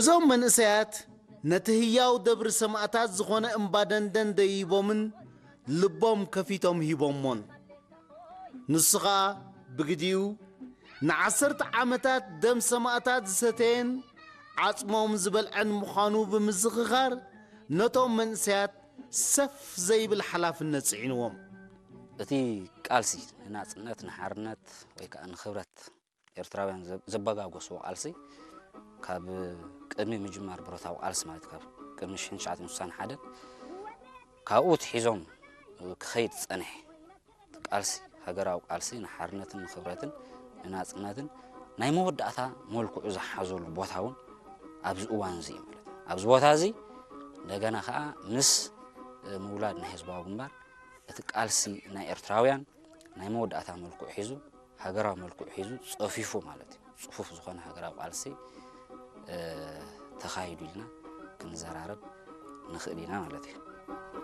እዞም መንእሰያት ነቲ ህያው ደብሪ ሰማእታት ዝኾነ እምባ ደንደን ደይቦምን ልቦም ከፊቶም ሂቦሞን። ንሱ ኸኣ ብግዲኡ ንዓሰርተ ዓመታት ደም ሰማእታት ዝሰተየን ዓጽሞም ዝበልዐን ምዃኑ ብምዝኽኻር ነቶም መንእሰያት ሰፍ ዘይብል ሓላፍነት ጽዒንዎም። እቲ ቃልሲ ንናጽነት፣ ንሓርነት ወይ ከዓ ንኽብረት ኤርትራውያን ዘ- ዘበጋጎስዎ ቃልሲ ካብ ቅድሚ ምጅማር ብረታዊ ቃልሲ ማለት ካብ ቅድሚ ሽሕን ትሽዓተ ሚእትን ስሳን ሓደን ካብኡ ትሒዞም ክኸይድ ዝጸንሐ ቃልሲ፣ ሃገራዊ ቃልሲ ንሓርነትን ንኽብረትን ንናጽነትን ናይ መወዳእታ መልክዑ ዝሓዘሉ ቦታ እውን ኣብዚ እዋን እዚ እዩ ማለት እዩ። ኣብዚ ቦታ እዚ እንደገና ከዓ ምስ ምውላድ ናይ ህዝባዊ ግንባር እቲ ቃልሲ ናይ ኤርትራውያን ናይ መወዳእታ መልክዑ ሒዙ፣ ሃገራዊ መልክዑ ሒዙ ጸፊፉ ማለት እዩ። ጽፉፍ ዝኾነ ሃገራዊ ቃልሲ ተኻይዱ ኢልና ክንዘራረብ ንኽእል ኢና ማለት እዩ።